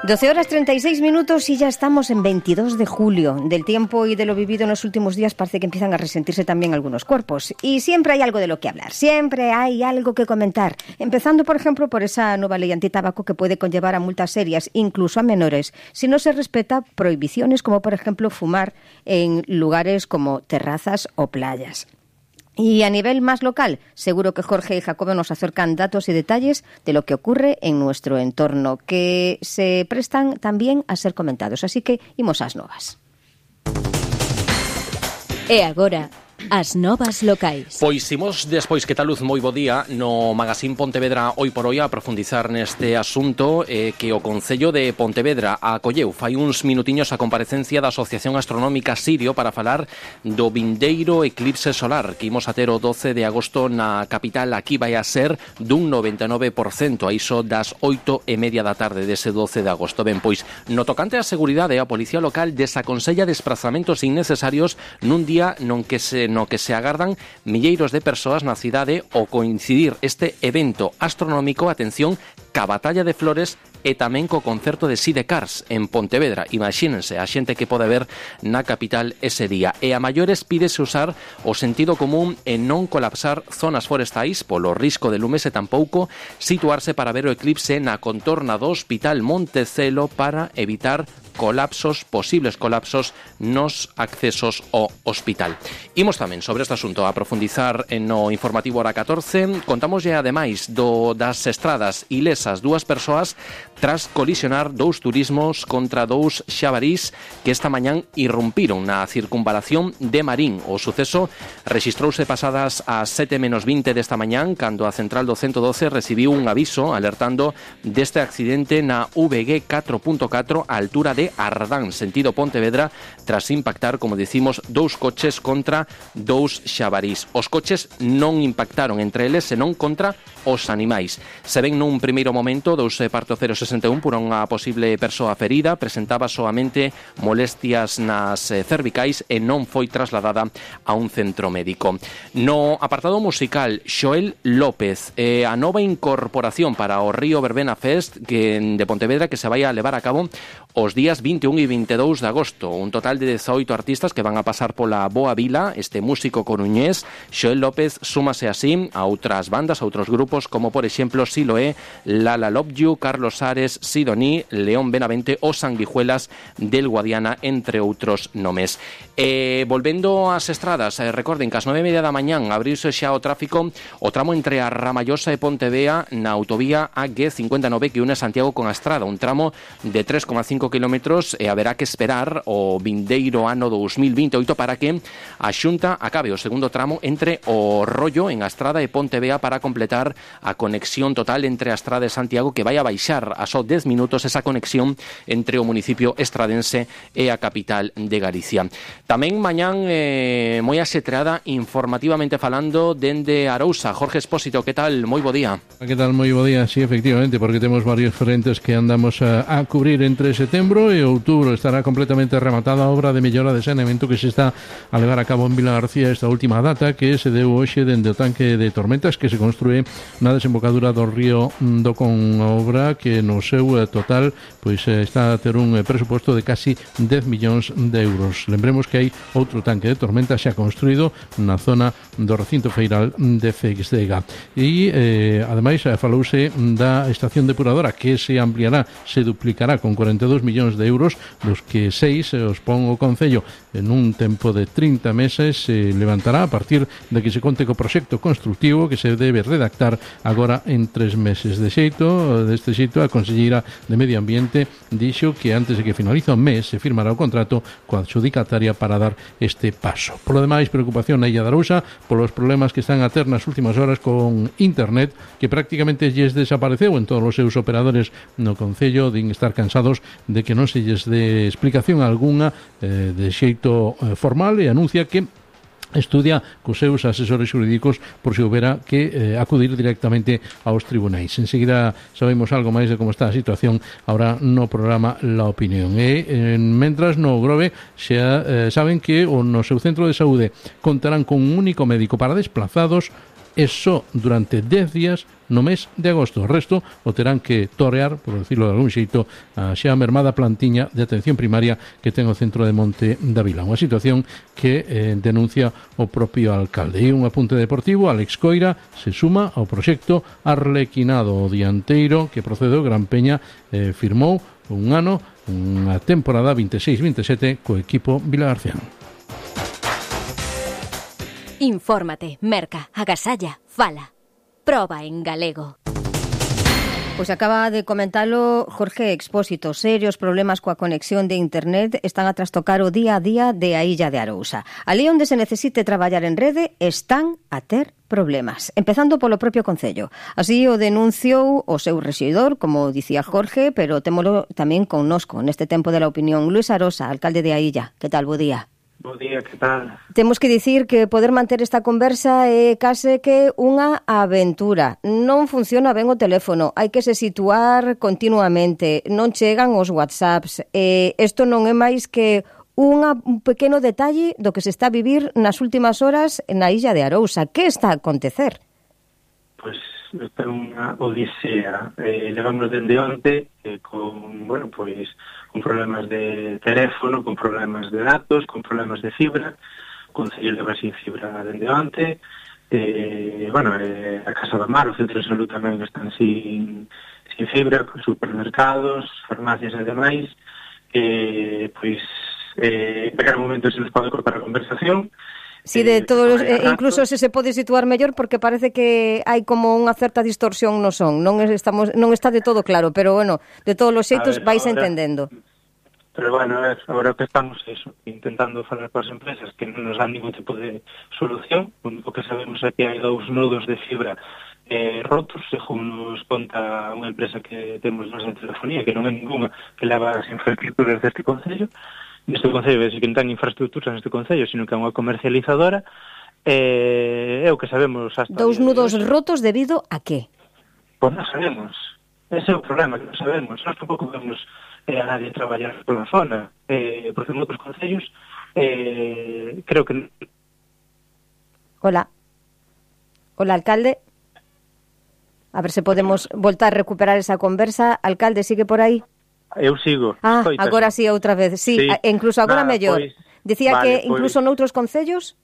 12 horas 36 minutos y ya estamos en 22 de julio. Del tiempo y de lo vivido en los últimos días parece que empiezan a resentirse también algunos cuerpos. Y siempre hay algo de lo que hablar, siempre hay algo que comentar. Empezando, por ejemplo, por esa nueva ley antitabaco que puede conllevar a multas serias, incluso a menores, si no se respeta prohibiciones como, por ejemplo, fumar en lugares como terrazas o playas. Y a nivel más local, seguro que Jorge y Jacobo nos acercan datos y detalles de lo que ocurre en nuestro entorno, que se prestan también a ser comentados. Así que, imos ás novas. E agora, as novas locais. Pois imos despois, que tal luz, moi bo día, no Magazín Pontevedra Hoy por Hoy a profundizar neste asunto que o Concello de Pontevedra acolleu fai uns minutiños a comparecencia da Asociación Astronómica Sirio para falar do vindeiro eclipse solar que imos a ter o 12 de agosto na capital. Aquí vai a ser dun 99% a iso das 8:30 da tarde dese 12 de agosto. Ben, pois, no tocante á seguridade, a Policía Local desaconsella desplazamentos innecesarios nun día no que se agardan milleiros de persoas na cidade ao coincidir este evento astronómico, atención, ca Batalla de Flores e tamén co concerto de Sidecars en Pontevedra. Imagínense a xente que pode ver na capital ese día. E a maiores pídese usar o sentido común e non colapsar zonas forestais polo risco de lumes e tampouco situarse para ver o eclipse na contorna do Hospital Montecelo para evitar posibles colapsos nos accesos ao hospital. Imos tamén sobre este asunto a profundizar no informativo hora 14. Contamos ademais das estradas ilesas, dúas persoas tras colisionar dous turismos contra dous xabarís que esta mañán irrumpiron na circunvalación de Marín. O suceso rexistrouse pasadas as 7:20 desta mañán, cando a central do 112 recibiu un aviso alertando deste accidente na VG 4.4 a altura de Ardán, sentido Pontevedra, tras impactar, como dicimos, dous coches contra dous xabarís. Os coches non impactaron entre eles, senón contra os animais. Se ven nun primeiro momento, dous parte 061 por unha posible persoa ferida, presentaba soamente molestias nas cervicais e non foi trasladada a un centro médico. No apartado musical, Xoel López, a nova incorporación para o Río Verbena Fest de Pontevedra que se vai a levar a cabo os días 21 e 22 de agosto. Un total de 18 artistas que van a pasar pola Boa Vila. Este músico coruñés, Xoel López, súmase así a outras bandas, a outros grupos, como por exemplo Siloé, Lala Love You, Carlos Ares, Sidoní, León Benavente ou Sanguijuelas del Guadiana, entre outros nomes. Volvendo ás estradas, recorden que ás 9:30 da mañán abriuse xa o tráfico o tramo entre a Ramallosa e Pontevea na autovía AG59 que une Santiago con a Estrada, un tramo de 3,5 kilómetros e haberá que esperar o vindeiro ano 2028 para que a Xunta acabe o segundo tramo entre o Rollo en a Estrada e Pontevea para completar a conexión total entre a Estrada e Santiago, que vai a baixar a só 10 minutos esa conexión entre o municipio estradense e a capital de Galicia. Tamén mañán moi axetreada informativamente falando dende Arousa. Jorge Expósito, que tal? Moi bo día. Que tal? Moi bo día, sí, efectivamente, porque temos varios frentes que andamos a cubrir entre setembro e outubro. Estará completamente rematada a obra de mellora de saneamento que se está a levar a cabo en Vila García esta última data, que se deu hoxe dende o tanque de tormentas que se construe na desembocadura do río do Con, obra que no seu total pois está a ter un presuposto de casi 10 millóns de euros. Lembremos que hai outro tanque de tormentas xa construído na zona do recinto feiral de Feixdega. E ademais falouse da estación depuradora que se ampliará, se duplicará con 42 millóns de euros, dos que 6 os pon o Concello en un tempo de 30 meses. Se levantará a partir de que se conte co proxecto constructivo que se debe redactar agora en 3 meses. Deste xeito, a Conselleira de Medio Ambiente dixo que antes de que finalice o mes se firmará o contrato coa adxudicataria para dar este paso. Por lo demais, preocupación na Illa de Arousa polos problemas que están a ter nas últimas horas con internet, que prácticamente lles desapareceu en todos os seus operadores no Concello. Din estar cansados de que non se lles dé explicación algunha de xeito formal, e anuncia que estudia cos seus asesores jurídicos por se houbera que acudir directamente aos tribunais. Enseguida sabemos algo máis de como está a situación ahora no programa La Opinión. E mentras no Grove xa saben que no seu centro de saúde contarán con un único médico para desplazados e só durante 10 días no mes de agosto. O resto o terán que torear, por decirlo de algún xeito, a xa mermada plantiña de atención primaria que ten o centro de Monte da Vila. Unha situación que denuncia o propio alcalde. E un apunte deportivo, Alex Coira se suma ao proxecto Arlequinado. O dianteiro que procede do Gran Peña firmou un ano, unha temporada 26-27 co equipo vilagarcián. Infórmate, merca, agasalla, fala. Proba en galego. Pois acaba de comentalo Jorge Expósito. Serios problemas coa conexión de internet están a trastocar o día a día de a Illa de Arousa. Ali onde se necesite traballar en rede están a ter problemas, empezando polo propio Concello. Así o denunciou o seu rexidor, como dicía Jorge, pero témolo tamén connosco neste tempo de la opinión. Luis Arosa, alcalde de a Illa. Que tal, bo día? Bo día, que tal? Temos que dicir que poder manter esta conversa é case que unha aventura. Non funciona ben o teléfono, hai que se situar continuamente, non chegan os WhatsApps. Isto non é máis que un pequeno detalle do que se está a vivir nas últimas horas na Illa de Arousa. Que está a acontecer? Pois esta é unha odisea. Levamos dende onte con, bueno, pois con problemas de teléfono, con problemas de datos, con problemas de fibra, con Concello leva sin fibra dende onte, a Casa do Mar, o Centro de Salud tamén están sin fibra, con supermercados, farmacias e demais, en calquer momento se nos pode cortar a conversación. Si, de todos, incluso se pode situar mellor, porque parece que hai como unha certa distorsión no son. Non está de todo claro, pero bueno, de todos os xeitos vais entendendo. Pero bueno, agora que estamos intentando falar para as empresas que non nos dan ningún tipo de solución. O único que sabemos é que hai 2 nodos de fibra rotos, según nos conta unha empresa que temos nos de telefonía, que non é ninguna, que leva as infraestructuras deste Concello. Neste Concello, é que non ten infraestructuras neste Concello, sino que é unha comercializadora. É o que sabemos hasta 2 nudos rotos debido a que? Pois non sabemos. Ese é o problema, que non sabemos. Nós tampouco vemos a nadie traballar pola zona, porque en outros concellos creo que... Hola, alcalde. A ver se podemos voltar a recuperar esa conversa. Alcalde, sigue por aí? Eu sigo. Agora sí, outra vez. Sí. Incluso agora mellor. Dicía que incluso noutros concellos?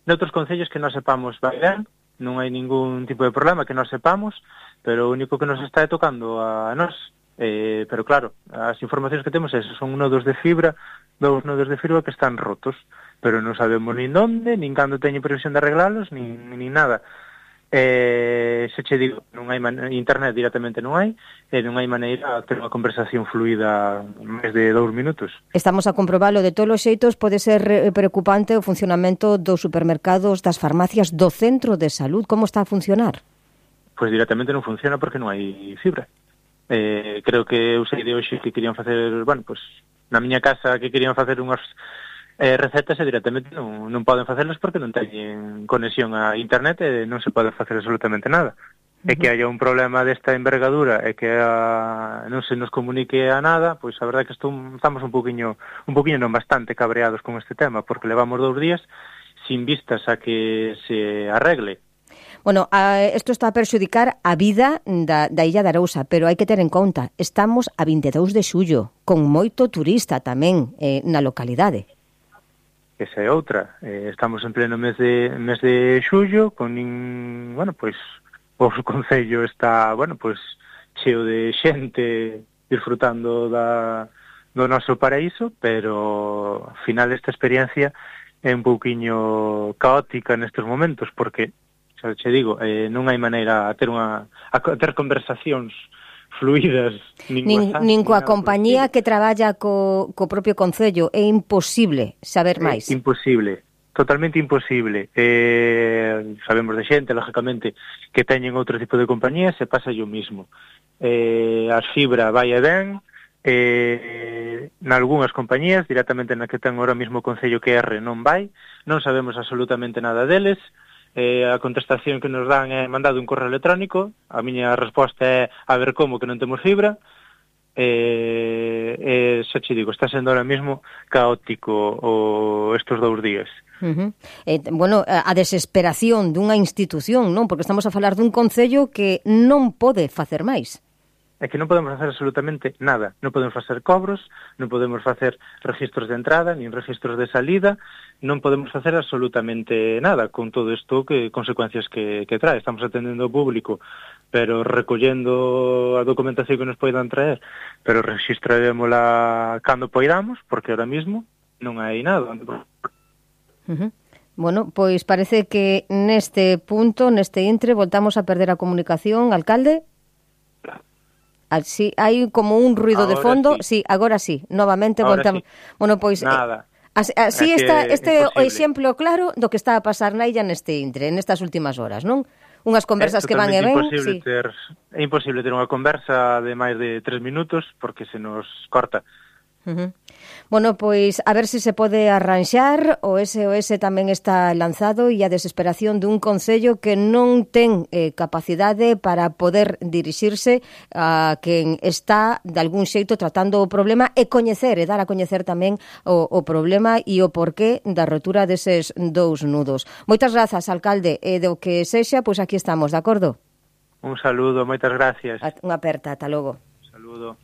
Noutros concellos que non sepamos vai ben, non hai ningún tipo de problema que non sepamos, pero o único que nos está tocando a nós. Pero claro, as informacións que temos son nodos de fibra, 2 nodos de fibra que están rotos, pero non sabemos nin onde, nin cando teñen previsión de arreglalos, nin nada. Se che digo, non hai internet directamente non hai, e non hai maneira de ter unha conversación fluida máis de 2 minutos. Estamos a comprobalo de todos os xeitos. Pode ser preocupante o funcionamento dos supermercados, das farmacias, do centro de salud. Como está a funcionar? Pois directamente non funciona porque non hai fibra. Creo que eu sei de hoxe que querían facer, na miña casa que querían facer unhas recetas e directamente non poden facerlas porque non teñen conexión a internet e non se pode facer absolutamente nada. E que haya un problema desta envergadura e que non se nos comunique a nada, pois a verdade é que estamos un poquinho non bastante cabreados con este tema, porque levamos 2 días sin vistas a que se arregle. Bueno, isto está a perxudicar a vida da Illa de Arousa, pero hai que ter en conta, estamos a 22 de xullo, con moito turista tamén na localidade. Esa é outra. Estamos en pleno mes de xullo, o Concello está, cheo de xente disfrutando do noso paraíso, pero ao final esta experiencia é un pouquiño caótica nestes momentos, porque xa che digo, non hai maneira a ter conversacións fluidas nin coa compañía que traballa co propio Concello. É imposible saber máis. Imposible, totalmente imposible. Sabemos de xente, lógicamente, que teñen outro tipo de compañías e pasa o mismo. As fibra vai e ben, nalgúnas compañías, directamente na que ten ahora mismo o Concello que non vai, non sabemos absolutamente nada deles. A contestación que nos dan é mandado un correo electrónico. A miña resposta é a ver como que non temos fibra. Xa che digo, está sendo ahora mismo caótico estes 2 días. Bueno, a desesperación dunha institución, non? Porque estamos a falar dun concello que non pode facer máis. É que non podemos facer absolutamente nada. Non podemos facer cobros, non podemos facer registros de entrada, nin registros de salida, non podemos facer absolutamente nada con todo isto, que consecuencias que trae. Estamos atendendo ao público, pero recollendo a documentación que nos poidan traer, pero registraremosla cando poidamos, porque ahora mismo non hai nada. Bueno, pois parece que neste punto, neste intre, voltamos a perder a comunicación, alcalde. Así, hai como un ruido de fondo. Sí, agora sí, novamente voltamos. Sí. Bueno, pois nada. Así está este o exemplo claro do que está a pasar na illa neste intre, nestas últimas horas, non? Unhas conversas que van e ven. É imposible ter unha conversa de máis de 3 minutos porque se nos corta. Bueno, pois a ver se pode arranxar. O SOS tamén está lanzado e a desesperación dun concello que non ten capacidade para poder dirixirse a quen está de algún xeito tratando o problema e coñecer e dar a coñecer tamén o problema e o porqué da rotura deses dous nudos. Moitas grazas, alcalde, e do que sexa, pois aquí estamos, de acordo? Un saludo, moitas gracias. Unha aperta, ata logo. Un saludo.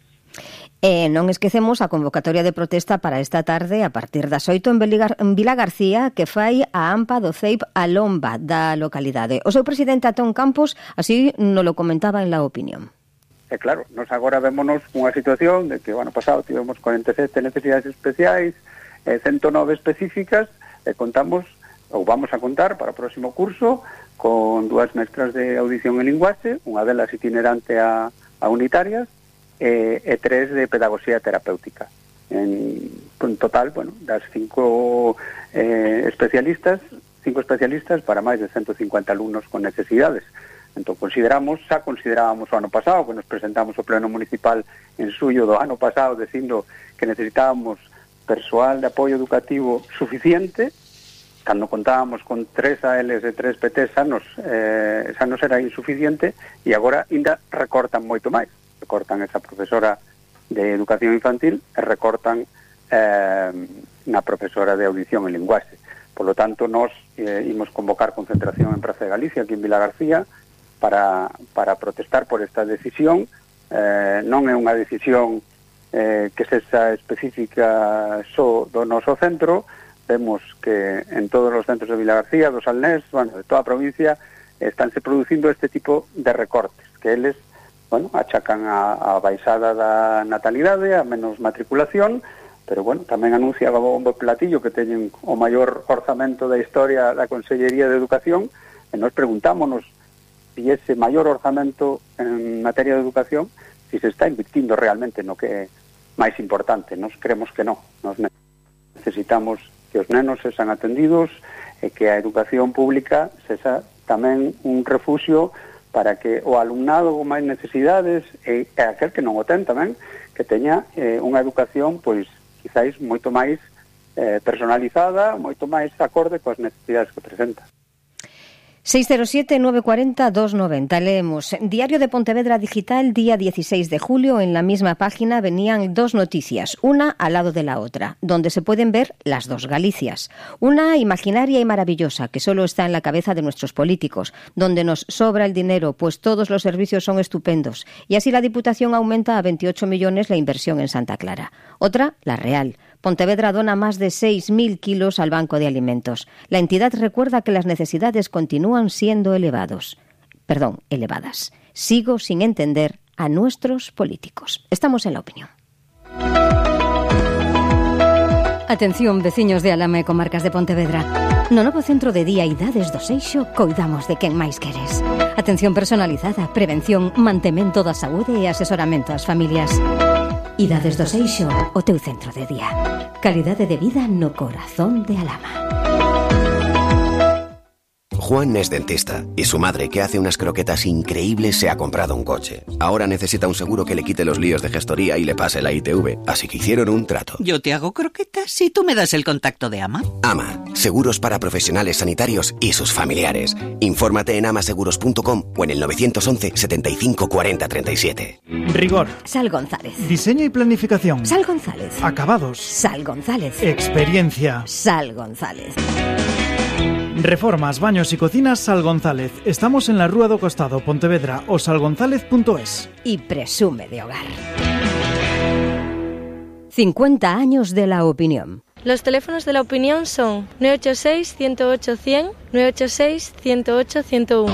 Non esquecemos a convocatoria de protesta para esta tarde a partir das 8 en Vilagarcía que fai a AMPA do CEIP a Lomba da localidade. O seu presidente Antón Campos así nos lo comentaba en La Opinión. Claro, nos agora vémonos unha situación de que o ano pasado tivemos 47 necesidades especiais, 109 específicas, e contamos, ou vamos a contar para o próximo curso, con 2 mestras de audición e linguaxe, unha delas itinerante a unitarias, e 3 de pedagogía terapéutica. En total, bueno, das 5 especialistas para máis de 150 alumnos con necesidades. Entón, considerábamos o ano pasado, que nos presentamos ao Pleno Municipal en suyo do ano pasado, dicindo que necesitábamos persoal de apoio educativo suficiente. Cando contábamos con 3 ALs e 3 PTs xa nos era insuficiente, e agora ainda recortan moito máis. Recortan esa profesora de educación infantil e recortan na profesora de audición e linguaxe. Por lo tanto, nós imos convocar concentración en Praza de Galicia, aquí en Vilagarcía, para protestar por esta decisión. Non é unha decisión que sexa específica só do noso centro. Vemos que en todos os centros de Vilagarcía, do Salnés, de toda a provincia, estánse producindo este tipo de recortes, que eles achacan a baixada da natalidade, a menos matriculación, pero tamén anunciaba bombo platillo que teñen o maior orzamento da historia da Consellería de Educación, e nos preguntámonos se ese maior orzamento en materia de educación se está invirtindo realmente no que é máis importante. Nos creemos que non. Nos necesitamos que os nenos sexan atendidos e que a educación pública sexa tamén un refuxio para que o alumnado con máis necesidades e aquel que non o ten tamén, que teña unha educación, pois, quizáis moito máis personalizada, moito máis acorde coas necesidades que presenta. 607-940-290. Leemos. Diario de Pontevedra Digital, día 16 de julio. En la misma página venían 2 noticias, una al lado de la otra, donde se pueden ver las 2 Galicias. Una imaginaria y maravillosa, que solo está en la cabeza de nuestros políticos, donde nos sobra el dinero, pues todos los servicios son estupendos. Y así la Diputación aumenta a 28 millones la inversión en Santa Clara. Otra, la real. Pontevedra dona más de 6.000 kilos al Banco de Alimentos. La entidad recuerda que las necesidades continúan siendo elevadas. Sigo sin entender a nuestros políticos. Estamos en La Opinión. Atención, veciños de Alama e comarcas de Pontevedra. No novo centro de día Idades do Seixo coidamos de quen máis queres. Atención personalizada, prevención, mantemento da saúde e asesoramento ás familias. Idades do Seixo, o teu centro de día. Calidade de vida no corazón de Alama. Juan es dentista y su madre, que hace unas croquetas increíbles, se ha comprado un coche. Ahora necesita un seguro que le quite los líos de gestoría y le pase la ITV, así que hicieron un trato. Yo te hago croquetas y tú me das el contacto de AMA. AMA, seguros para profesionales sanitarios y sus familiares. Infórmate en amaseguros.com o en el 911 75 40 37. Rigor. Sal González. Diseño y planificación. Sal González. Acabados. Sal González. Experiencia. Sal González. Reformas, baños y cocinas Sal González. Estamos en la Rúa do Costado, Pontevedra, o salgonzalez.es. Y presume de hogar. 50 años de la opinión. Los teléfonos de la opinión son 986-108-100, 986-108-101.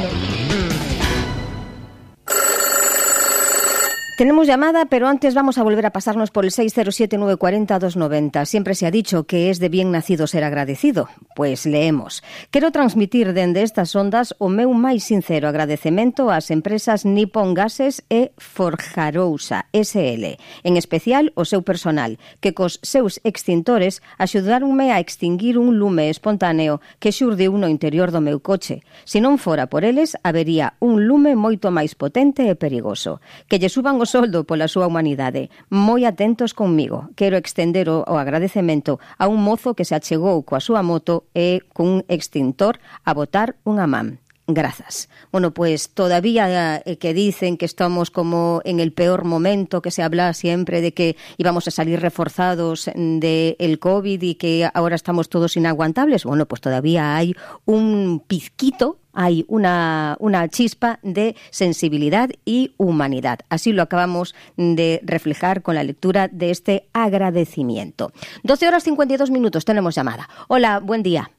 Tenemos llamada, pero antes vamos a volver a pasarnos por el 607-940-290. Siempre se ha dicho que es de bien nacido ser agradecido. Pues leemos. Quero transmitir dende estas ondas o meu máis sincero agradecemento ás empresas Nippon Gases e Forjarousa SL, en especial o seu personal, que cos seus extintores axudaronme a extinguir un lume espontáneo que xurdiu no interior do meu coche. Se non fora por eles, habería un lume moito máis potente e perigoso. Que lle suban o soldo pola súa humanidade. Moi atentos conmigo. Quero extender o agradecemento a un mozo que se achegou coa súa moto e cun extintor a botar unha man. Grazas. Bueno, pues todavía que dicen que estamos como en el peor momento, que se habla siempre de que íbamos a salir reforzados del COVID y que ahora estamos todos inaguantables, bueno, pues todavía hay un pizquito, hay una chispa de sensibilidad y humanidad. Así lo acabamos de reflejar con la lectura de este agradecimiento. 12:52, tenemos llamada. Hola, buen día.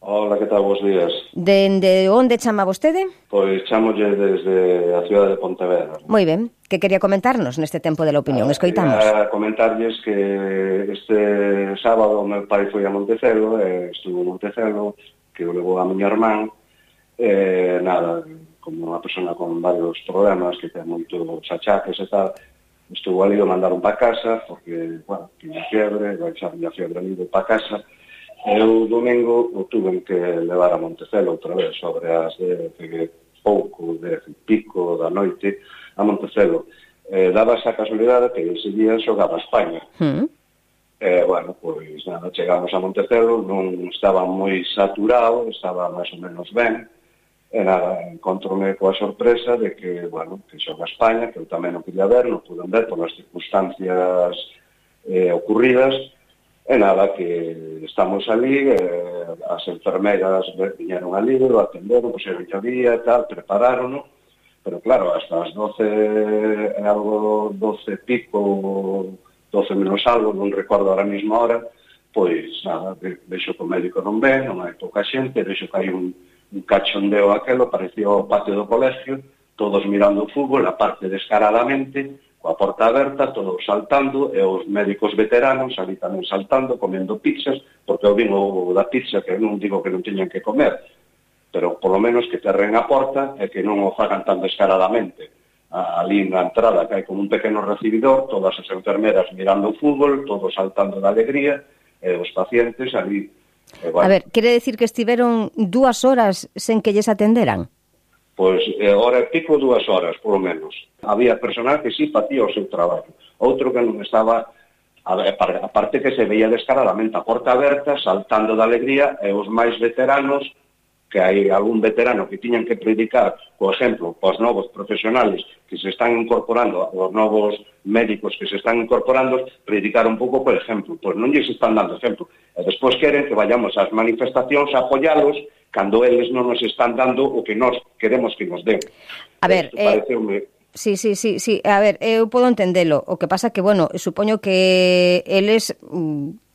Hola, que tal? Bos días. Dende onde chama vostede? Pois chamolle desde a cidade de Pontevedra. Moi ben. Que quería comentarnos neste tempo de la opinión? Escoitamos. Quería comentarlles que este sábado meu pai foi a Montecelo, estuvo en Montecelo, que o levou a miña irmán, nada, como unha persona con varios problemas, que ten moitos achaques e tal, estuvo ali, o mandaron para casa, porque, bueno, tiña fiebre, xa tiña fiebre ali, para casa. Eu domingo o tuve que levar a Montecelo outra vez sobre as de pouco, de pico da noite a Montecelo. Daba esa casualidade que ese día xogaba a España. Bueno, pois nada, chegamos a Montecelo, non estaba moi saturado, estaba máis ou menos ben, e nada, encontrome coa sorpresa de que, bueno, que xoga a España, que eu tamén non quería ver, non pude ver por as circunstancias ocurridas. E nada, que estamos ali, as enfermeras viñeron ali, lo atenderon, puseron llavía e tal, preparárono, pero claro, hasta as 12 algo, 12 pico, 12 menos algo, non recordo ahora mismo a hora, pois nada, vexo que o médico non ven, non hai pouca xente, vexo que hai un cachondeo aquelo, parecía o patio do colegio, todos mirando o fútbol, a parte descaradamente, coa porta aberta, todos saltando, e os médicos veteranos ali tamén saltando, comendo pizzas, porque eu vin o da pizza, que non digo que non teñan que comer, pero polo menos que terren a porta e que non o fagan tan descaradamente. Ali na entrada, que hai como un pequeno recibidor, todas as enfermeras mirando o fútbol, todos saltando de alegría, e os pacientes ali. Bueno. A ver, quere decir que estiveron 2 horas sen que lles atenderan? Pois, hora e pico, 2 horas, polo menos. Había personal que sí facía o seu traballo. Outro que non estaba, a parte que se veía descaradamente a porta aberta, saltando de alegría, e os máis veteranos, que hai algún veterano que tiñan que predicar, por exemplo, aos novos profesionales que se están incorporando, aos novos médicos que se están incorporando, predicar un pouco, por exemplo. Pois non lles están dando exemplo. E despois queren que vayamos ás manifestacións a apoialos cando eles non nos están dando o que nós queremos que nos den. A ver, sí. A ver, eu podo entendelo. O que pasa que, bueno, supoño que eles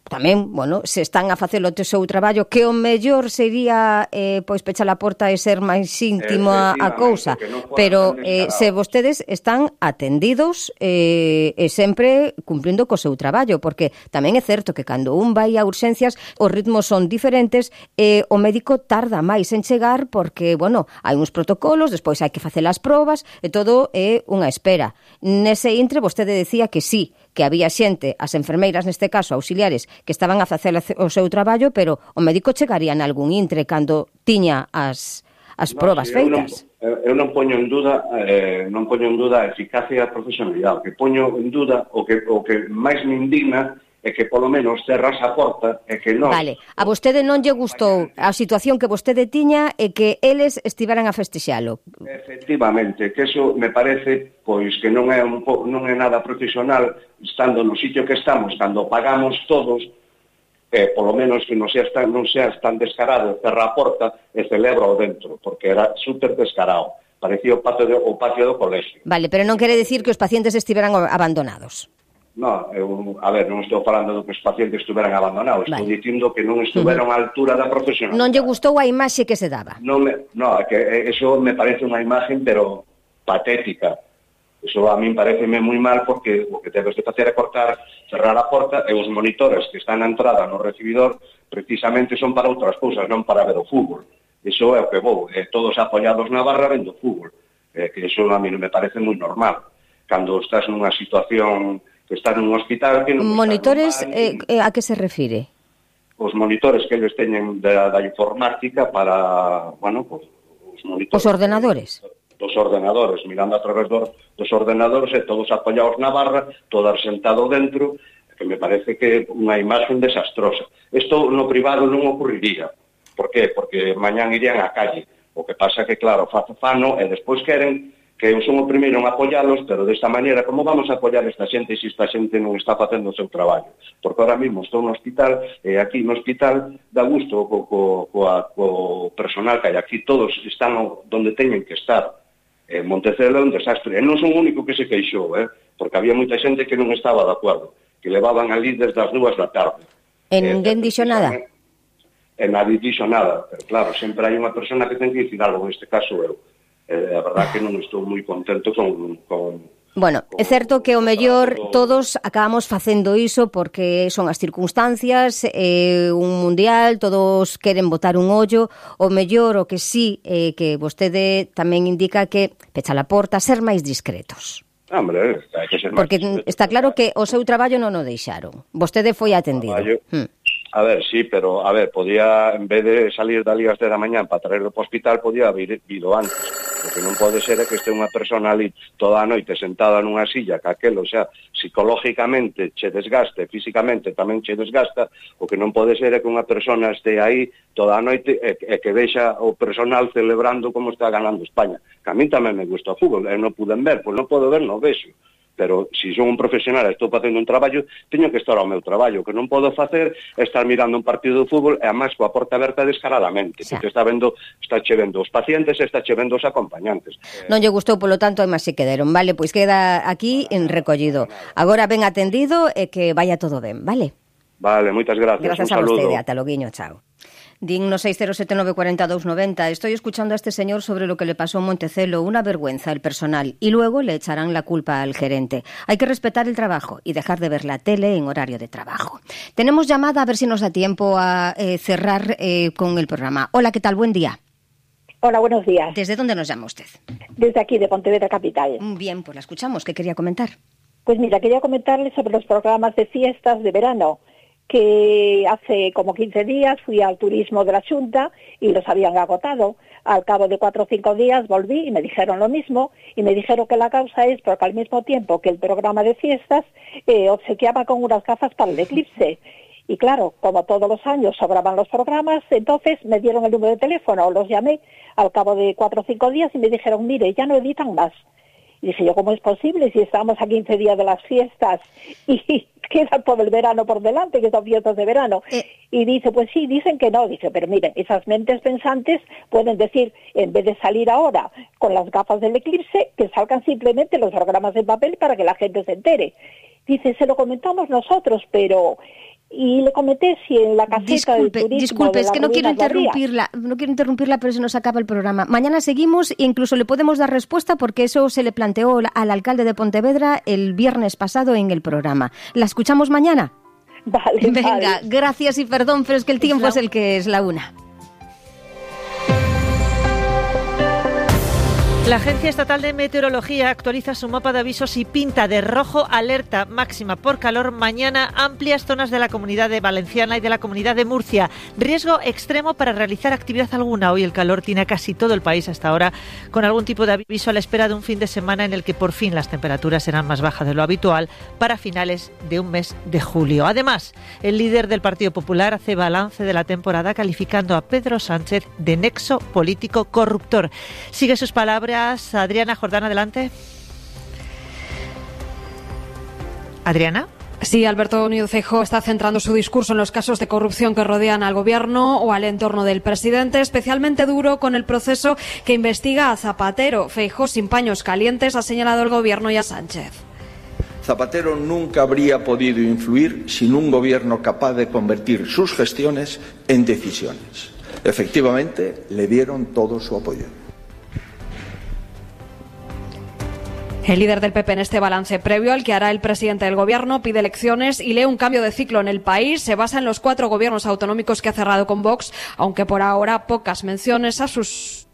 tamén, bueno, se están a facer o seu traballo, que o mellor sería pois pechar a porta e ser máis íntimo a cousa, pero se vostedes están atendidos e sempre cumplindo co seu traballo, porque tamén é certo que cando un vai a urxencias os ritmos son diferentes e o médico tarda máis en chegar porque, bueno, hai uns protocolos, despois hai que facer as probas e todo é unha espera. Nese intre vostede decía que sí, que había xente, as enfermeiras neste caso, auxiliares, que estaban a facer o seu traballo, pero o médico chegaría en algún intre cando tiña as probas feitas. Eu non poño en duda a eficacia e a profesionalidade. O que poño en duda, o que máis me indigna é que polo menos cerras a porta e que non... Vale, a vostede non lle gustou a situación que vostede tiña e que eles estiveran a festexalo. Efectivamente, que eso me parece pois que non é nada profesional estando no sitio que estamos, cando pagamos todos, polo menos que non seas tan descarado, cerra a porta e celebra o dentro, porque era super descarado. Parecía o patio do colegio. Vale, pero non quere decir que os pacientes estiveran abandonados. Non, non estou falando do que os pacientes estuveran abandonados, estou dicindo que non estuveron á altura da profesionalidade. Non lle gustou a imaxe que se daba? Non, que eso me parece unha imagen, pero patética. Eso a min pareceme moi mal, porque o que debes de facer é cortar, cerrar a porta, e os monitores que están na entrada no recibidor precisamente son para outras cousas, non para ver o fútbol. Iso é o que vou, todos apoiados na barra vendo fútbol, que iso a mí non me parece moi normal. Cando estás nunha situación que estás nun hospital... que non monitores, a que se refire? Os monitores que eles teñen da informática para, os monitores... Os ordenadores? Dos ordenadores, mirando a través dos ordenadores e todos apoiados na barra, todos sentados dentro, que me parece que é unha imagen desastrosa. Isto no privado non ocurriría. Por qué? Porque mañán irían á calle. O que pasa que, claro, fano e despois queren que eu son o primeiro en apoialos, pero desta maneira, como vamos a apoiar esta xente se esta xente non está facendo o seu traballo? Porque ahora mesmo estou no hospital, e aquí no hospital dá gusto co personal que hai aquí, todos están onde teñen que estar. Montecelo é un desastre, e non son o único que se queixou, porque había moita xente que non estaba de acordo, que levaban ali desde as 2 da tarde. E ninguén dixo nada? E nadie dixo nada, pero claro, sempre hai unha persona que ten que dicir algo, neste caso eu. A verdad que non estou moi contento con... Bueno, é certo que o mellor todos acabamos facendo iso porque son as circunstancias, un mundial, todos queren botar un ollo, o mellor o que sí, que vostede tamén indica que pecha a porta, ser máis discretos. Hombre, hai que ser máis porque discretos. Está claro que o seu traballo non o deixaron. Vostede foi atendido. A ver, sí, pero, podía, en vez de salir dali ás 10 da mañán para traerlo para o hospital, podía haber ido antes. O que non pode ser é que este unha persona ali toda a noite sentada nunha silla, que aquelo, psicológicamente che desgaste, físicamente tamén che desgasta, o que non pode ser é que unha persona este aí toda a noite e que deixa o personal celebrando como está ganando España. Que a mí tamén me gusta o fútbol, e non puden ver, pois non podo ver, non vexo. Pero se son un profesional e estou facendo un traballo, teño que estar ao meu traballo. O que non podo facer é estar mirando un partido de fútbol e además coa porta aberta descaradamente, porque está che vendo os pacientes e está che vendo os acompañantes. Non lle gustou, polo tanto, e máis se quedaron, vale? Pois queda aquí en recollido. Agora ben atendido e que vaya todo ben, vale? Vale, moitas gracias. Gracias a vostede, ata loguiño, chao. Digno 607-940-290. Estoy escuchando a este señor sobre lo que le pasó en Montecelo. Una vergüenza el personal. Y luego le echarán la culpa al gerente. Hay que respetar el trabajo y dejar de ver la tele en horario de trabajo. Tenemos llamada, a ver si nos da tiempo a cerrar con el programa. Hola, ¿qué tal? Buen día. Hola, buenos días. ¿Desde dónde nos llama usted? Desde aquí, de Pontevedra Capital. Bien, pues la escuchamos. ¿Qué quería comentar? Pues mira, quería comentarles sobre los programas de fiestas de verano, que hace como 15 días fui al turismo de la Xunta y los habían agotado. Al cabo de 4 o 5 días volví y me dijeron lo mismo, y me dijeron que la causa es porque al mismo tiempo que el programa de fiestas obsequiaba con unas gafas para el eclipse. Y claro, como todos los años sobraban los programas, entonces me dieron el número de teléfono, los llamé al cabo de 4 o 5 días y me dijeron, mire, ya no editan más. Y dije yo, ¿cómo es posible si estamos a 15 días de las fiestas y queda todo el verano por delante, que son fiestas de verano? Y dice, pues sí, dicen que no. Dice, pero miren, esas mentes pensantes pueden decir, en vez de salir ahora con las gafas del eclipse, que salgan simplemente los programas en papel para que la gente se entere. Dice, se lo comentamos nosotros, pero... Y le comenté si en la caseta del turismo... Disculpe, es que no quiero interrumpirla, pero se nos acaba el programa. Mañana seguimos e incluso le podemos dar respuesta porque eso se le planteó al alcalde de Pontevedra el viernes pasado en el programa. ¿La escuchamos mañana? Vale, venga, vale. Gracias y perdón, pero es que el tiempo es el que es, la una. La Agencia Estatal de Meteorología actualiza su mapa de avisos y pinta de rojo alerta máxima por calor mañana amplias zonas de la Comunidad de Valenciana y de la Comunidad de Murcia. Riesgo extremo para realizar actividad alguna. Hoy el calor tiene a casi todo el país hasta ahora, con algún tipo de aviso a la espera de un fin de semana en el que por fin las temperaturas serán más bajas de lo habitual para finales de un mes de julio. Además, el líder del Partido Popular hace balance de la temporada calificando a Pedro Sánchez de nexo político corruptor. Sigue sus palabras Adriana Jordán, adelante. Adriana. Sí, Alberto Núñez Feijóo está centrando su discurso en los casos de corrupción que rodean al gobierno o al entorno del presidente, especialmente duro con el proceso que investiga a Zapatero. Feijóo, sin paños calientes, ha señalado al gobierno y a Sánchez. Zapatero nunca habría podido influir sin un gobierno capaz de convertir sus gestiones en decisiones. Efectivamente, le dieron todo su apoyo. El líder del PP en este balance previo al que hará el presidente del gobierno pide elecciones y lee un cambio de ciclo en el país. Se basa en los 4 gobiernos autonómicos que ha cerrado con Vox, aunque por ahora pocas menciones a sus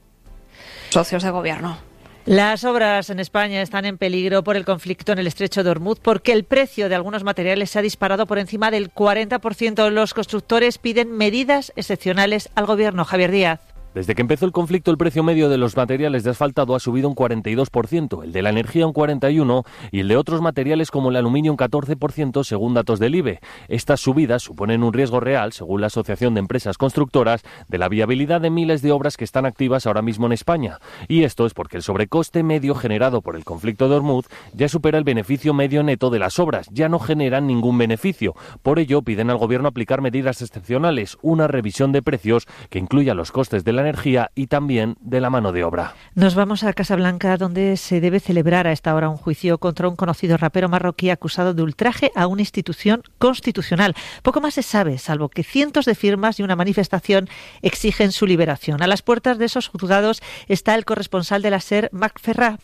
socios de gobierno. Las obras en España están en peligro por el conflicto en el estrecho de Hormuz porque el precio de algunos materiales se ha disparado por encima del 40%. Los constructores piden medidas excepcionales al gobierno. Javier Díaz. Desde que empezó el conflicto, el precio medio de los materiales de asfaltado ha subido un 42%, el de la energía un 41% y el de otros materiales como el aluminio un 14%, según datos del IBE. Estas subidas suponen un riesgo real, según la Asociación de Empresas Constructoras, de la viabilidad de miles de obras que están activas ahora mismo en España. Y esto es porque el sobrecoste medio generado por el conflicto de Hormuz ya supera el beneficio medio neto de las obras, ya no generan ningún beneficio. Por ello, piden al Gobierno aplicar medidas excepcionales, una revisión de precios que incluya los costes de la energía y también de la mano de obra. Nos vamos a Casablanca, donde se debe celebrar a esta hora un juicio contra un conocido rapero marroquí acusado de ultraje a una institución constitucional. Poco más se sabe, salvo que cientos de firmas y una manifestación exigen su liberación. A las puertas de esos juzgados está el corresponsal de la SER, Marc Ferrà.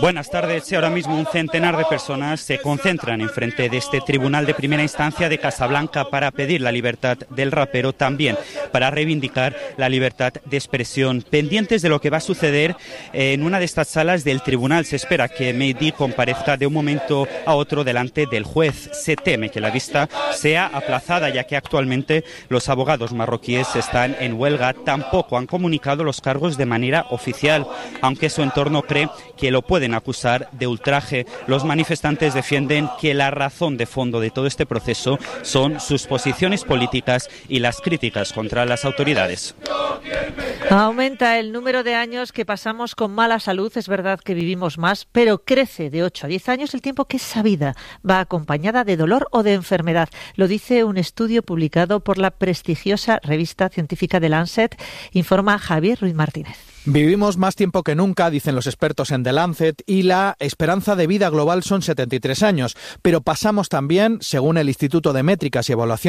Buenas tardes. Ahora mismo un centenar de personas se concentran enfrente de este tribunal de primera instancia de Casablanca para pedir la libertad del rapero, también para reivindicar la libertad de expresión. Pendientes de lo que va a suceder en una de estas salas del tribunal, se espera que Mehdi comparezca de un momento a otro delante del juez. Se teme que la vista sea aplazada, ya que actualmente los abogados marroquíes están en huelga. Tampoco han comunicado los cargos de manera oficial, aunque su entorno cree que lo pueden acusar de ultraje. Los manifestantes defienden que la razón de fondo de todo este proceso son sus posiciones políticas y las críticas contra las autoridades. Aumenta el número de años que pasamos con mala salud. Es verdad que vivimos más, pero crece de 8 a 10 años el tiempo que esa vida va acompañada de dolor o de enfermedad. Lo dice un estudio publicado por la prestigiosa revista científica The Lancet, informa Javier Ruiz Martínez. Vivimos más tiempo que nunca, dicen los expertos en The Lancet, y la esperanza de vida global son 73 años. Pero pasamos también, según el Instituto de Métricas y Evaluación